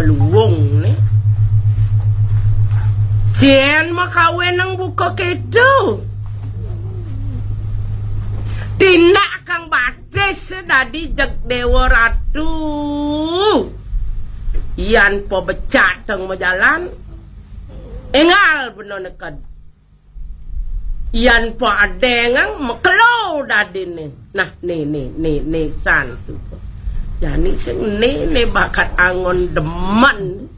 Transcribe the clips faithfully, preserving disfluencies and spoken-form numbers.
luwung né. Jén makawénang buka kéto. Tindak kang batis dadi jeg Déwa Ratu. Yan pabecatang majalan. Énggal bena neked. Yan pa adéngang makelo dadiné. Nah, né, né, né, né, san suba. Jani sing né, né bakat anggon demen.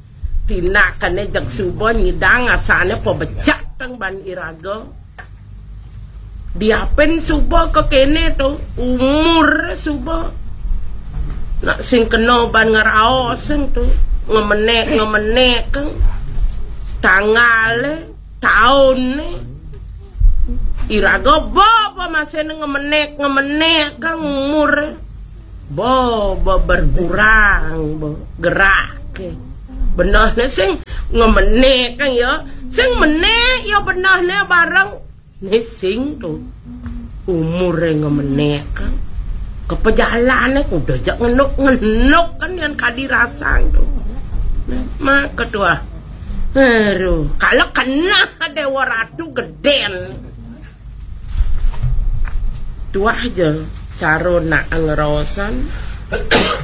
Tindakané jeg suba nyidang asané pabecatang ban iraga. Diapin suba ka kéné to, umur suba. Nak sing kena ban ngraos sing to, ngemenék-ngemenék kang. Tanggalé, tauné. Iraga baba masih ngemenék-ngemenék kang umur. Baba berkurang, ba, geraké. Benehné sing ngemenék kang ya. Sing menék ya benehné bareng. Né sing to. Umuré ngemenék kang. Kepejalané kuda jak ngenuk-ngenuk kan yan kadi rasang to. Maka tuah. Aduh, kalau kena Déwa Ratu gedén. Tuah ja cara nak ngraosan.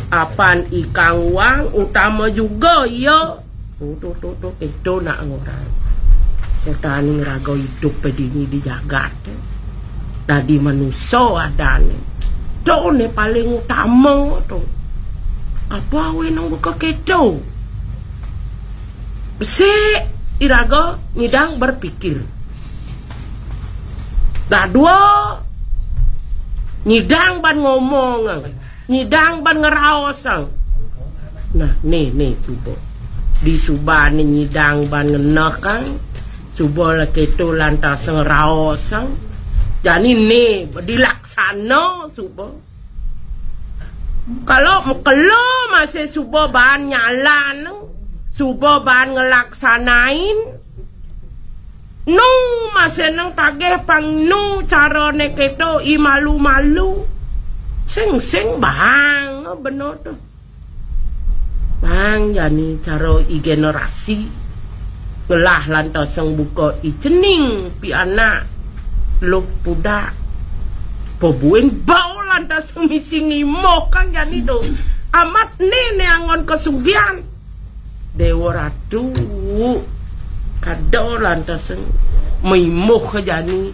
Apan ikang wang utama juga ya. Tuh, tuh, tuh, tuh, itu nak ngorang. Sotani ngraga idup dini di jagat. Dadi manusa adané. To né paling utama to. Apa awé nang buka kéto? Besik iraga nyidang berpikir. Dadua nyidang ban ngomong, nyidang ban ngraosang. Nah, né, né, suba. Di subané nyidang ban ngenehkang, suba la kéto lantas ngraosang. Jani né dilaksana suba. Kalau makelo masih suba ban nyalan, suba ban ngelaksanain, nu masih nang tagih pang nu carané kéto i malu-malu. Sing-sing bang bena to. Bang jani cara i generasi ngelah lantasang buka i cening pianak luh pudak. Pabuin bau lantasang misi ngimuh kang jani to. Amat né né anggon kasugihan. Déwa Ratu ada lantasang maimuh jani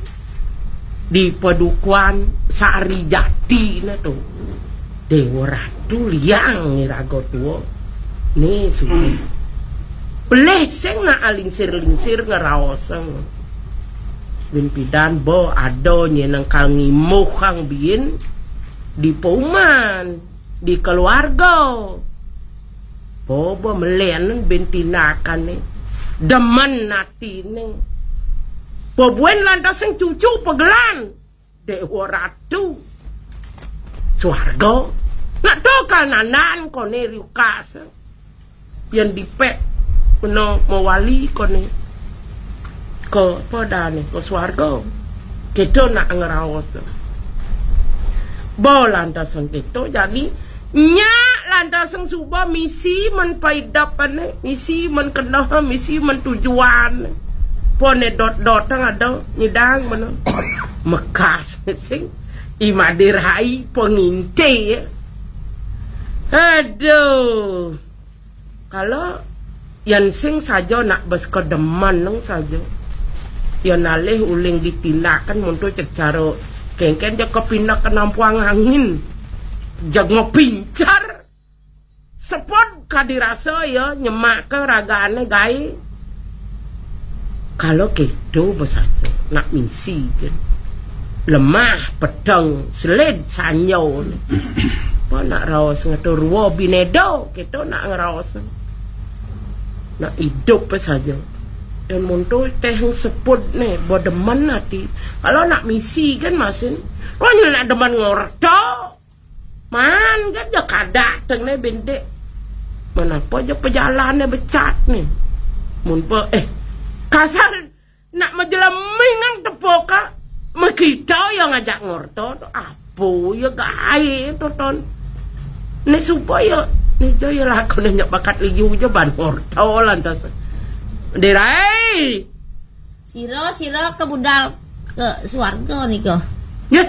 di padukuhan Sari Jati na to. Déwa Ratu liang iraga tua. Né suba. Pelih sing nak alingsir-lingsir ngraosang. Bin pidan ba ada nyén nang kal ngimuh kang biin di pauman, di keluarga. Baba melen bin tindakané. Demen atiné. Pabuin lantasang cucu pagelan. Déwa Ratu. Suarga. Nak to kal nandan koné riukas. Yén dipek kena mawali koné. Ka apa dané? Ka suarga. Kéto nak ngraos. Ba lantasang kéto jani nyak lantasang suba misi men paidepané, misi men keneh, misi men tujuan. Poné dot-dotang ada nyidang mana. Mekas sing i madirai penginti. Aduh. Kalau yan sing saja nak bes kedemen nang saja. Yan alih uling ditindakan muntu cek cara kéngkén ja kepindah ke nampuang angin. Jag ngepincar. Sepot kadi rasa ya nyemak ke ragané gaé. Kalau kéto besaja nak misi kan. Lemah, peteng, selid, sanyo. Apa nak raos ngatur rua binéda, kéto nak ngeraos. Nak idup saja. Dan muntu teh seput né, ba demen ati. Kalau nak misi kan masin, wah nak demen ngorta. Man kan ja kada teng né bintik. Manapa ja pejalané becat né. Mun pa, eh, kasar nak majeleming nang tepoka. Makita ya ngajak ngorta to. Apa ya gaé to ton. Né supaya Ija ya lakon nya bakat ligi uja ban horto lantas. Derai. Sira, sira ke budal ke suarga nika. Ya.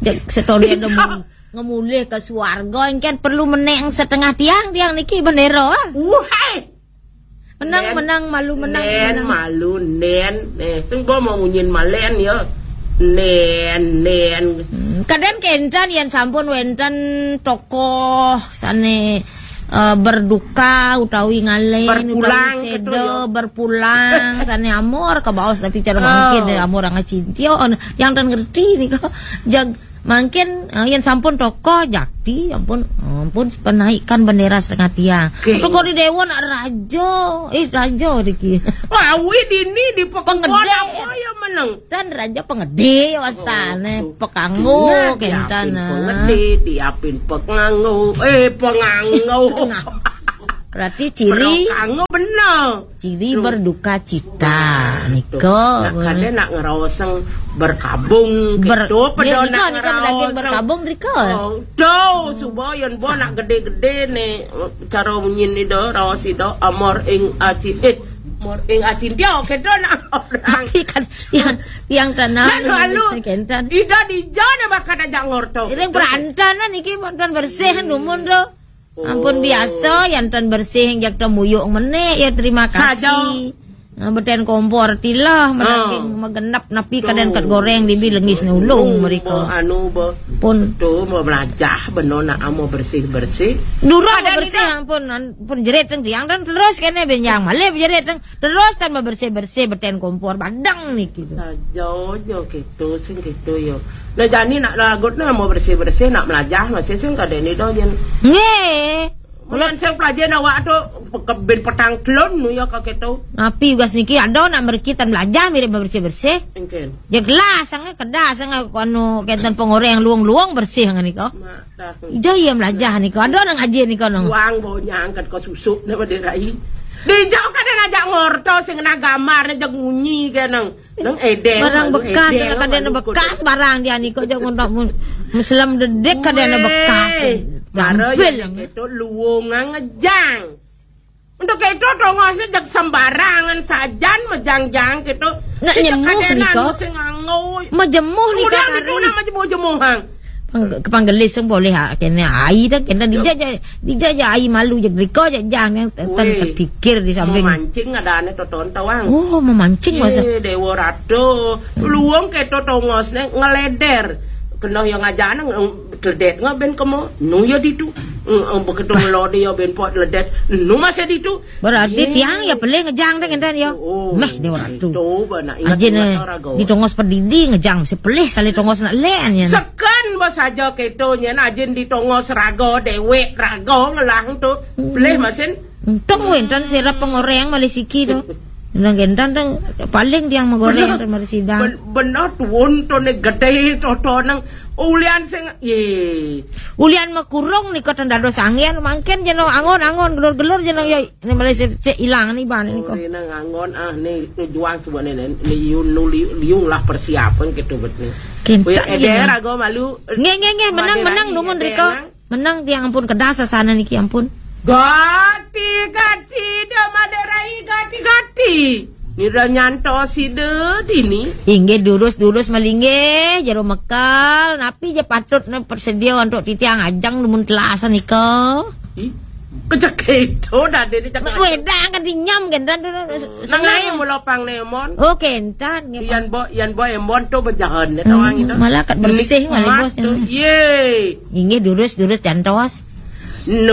Dek setone ada mul-, ngemulih ke suarga, engken perlu meneng setengah tiang, tiang niki bendera, ah. Wahai. Menang, Nen, menang, malu, menang, nen, menang. Malu, nen. Eh, sing bo mau munyin malen ya. Nen, nen. Hmm, kadang kenten yang sampun wenten tokoh sane, eh, berduka utawi ngalen, utawi berpulang, seda, gitu ya. Berpulang, sane amor kebaos tapi cara mangkin amor ngacintia, on, yang tan ngerti nih kok. Jag, mangkin, eh, yang sampun tokoh jakti, ampun, ampun penaikan bendera setengah tiang. Oke. Tokoh di dewa nak raja, eh, raja riki. Wah, wi dini di pengedar apa ya meneng? Dan raja pengede wastane, oh, pekanggo, nah, kenten, diapin pengede, diapin pekanggo, eh, penganggo. Berarti ciri pekanggo bener. Ciri berduka cita. Nah, nika. Nak kade nak ngeroseng berkabung ber-, gitu, ya, pedo nika, nak nika lagi ngeroseng berkabung, rika. Oh, tuh, suba yen bo nak gede-gede nih, cara munyin ida, raos ida, amor ing aci-, eh, amor ing acintia, oke, do nak orang. Tapi kan yang, yang tanah, lalu, kenten. Ida dija ne bakal aja ngorto. Ini perantanan iki, perantan bersih, dumun do. Ampun, oh, biasa, yang tan bersih, yang jak temuyuk meneh, ya terima kasih. Saja. Nah, beten kompor tilah, menangking, ah, megenep, napi kadang kat goreng, dibi lengis ne ulung mereka. Anu, bo. Pun. Tu, mau melajah, beno nak amo bersih-bersih. Durung ada bersih, nika. Ampun, an-, pun jerit teng tiang, dan terus kene benjang, malih jerit teng, terus tan bersih-bersih, beten kompor, badang niki. Saja, jo, gitu, sing gitu, yo. Nah, jani nak lagut ne mau bersih-bersih, nak melajah, masih sing kada ni do, jen. Nggih. Bulan sing pelajar awak tu, ke-, ben petang telun nu ya kake tu. Napi ugas niki ada nak merkitan melajah mirip bersih-bersih. Engken. Ya gelas, sange kedas, sange anu kenten pengoreng luang-luang bersih ngan nika. Mak, dah. Ija iya melajah nika, ada nang aji nika nang. Buang bau nyangkat ko susuk ne pada rai. Dijauh kada ngajak ngorto sing kena gambar ne jag munyi ke nang. Nang edeng, barang malu bekas, edeng, kadang malu bekas kudu. Barang dia ni, kok jangan tak mun-, muslim dedek kadang bekas. Weh, gampil. Itu luwung ngejang. Untuk itu tongosnya jag sembarangan sajan mejang-jang gitu. Nak nyemuh nika. Sing nganggo. Majemuh nika. Udah gitu kari. Nama jemuh-jemuhang. Pang-, kepanggelis yang boleh, ah, kena ai dah, kena dijajah, dijajah ai malu je, riko je jang yang ter-, ter-, weh, terpikir di samping. Mau mancing ada ane toton tawang. Oh, mau mancing masa? Ye, Dewa Ratu, luang keto tongos ne ngeleder. Kena yang aja ne, ng-, teledet nggak ben kemo, nu ya ditu. Ng-, ng-, beketu lo dia ben pot ledet, nu masih ditu. Berarti ye. Tiang ya pelih ngejang deh, ngenten ya. Oh, meh, Dewa Ratu. Itu, bana, ingat, aja ingat ne, orang gawa. Di tongos pedidi ngejang, si pelih sale tongos nak len, ya. Seken, bos aja keto, nyen ajin di tongos raga, dewek raga ngelang tu. Hmm. Pelih masin. Untung wenten sirap pengoreng malih siki tu. Nang gentan tu, paling tiang megoreng tu mari sidang. Ben-, bener tuun tu ne gede tu, tu nang ulian sing, ye. Ulian mekurung nika ten dados angin, mangkin jeno angon-angon, gelur-gelur jeno ya. Ini malah se-, se-, ilang ni ban ni ko. Uli nang anggon, ah, ni, ni juang suba ni, ni, liun, nu, liu-, liung lah persiapan gitu bet ni. Kinten. Wih, eder ya. Ago malu. Nggih, nggih, nggih, menang, menang, numun eder riko. Nang. Menang tiang ampun kedas sasana niki ampun. Gati, gati, da maderai, gati, gati. Nira nyantos sida dini. Inggih durus-durus malinggih, jero mekel, napi je patut ne persedia untuk titiang ajeng numun telasan nika. Ih, kejak itu dah dia cakap. Wedang kan dinyam kan dan tu. Nang ai mula pang nemon. Oh, kentan nggih. Yan bo, yan bo emon tu bejahan ya tawang itu. Malah kat bersih malah bos tu. Ye. Inggih durus-durus jantos. No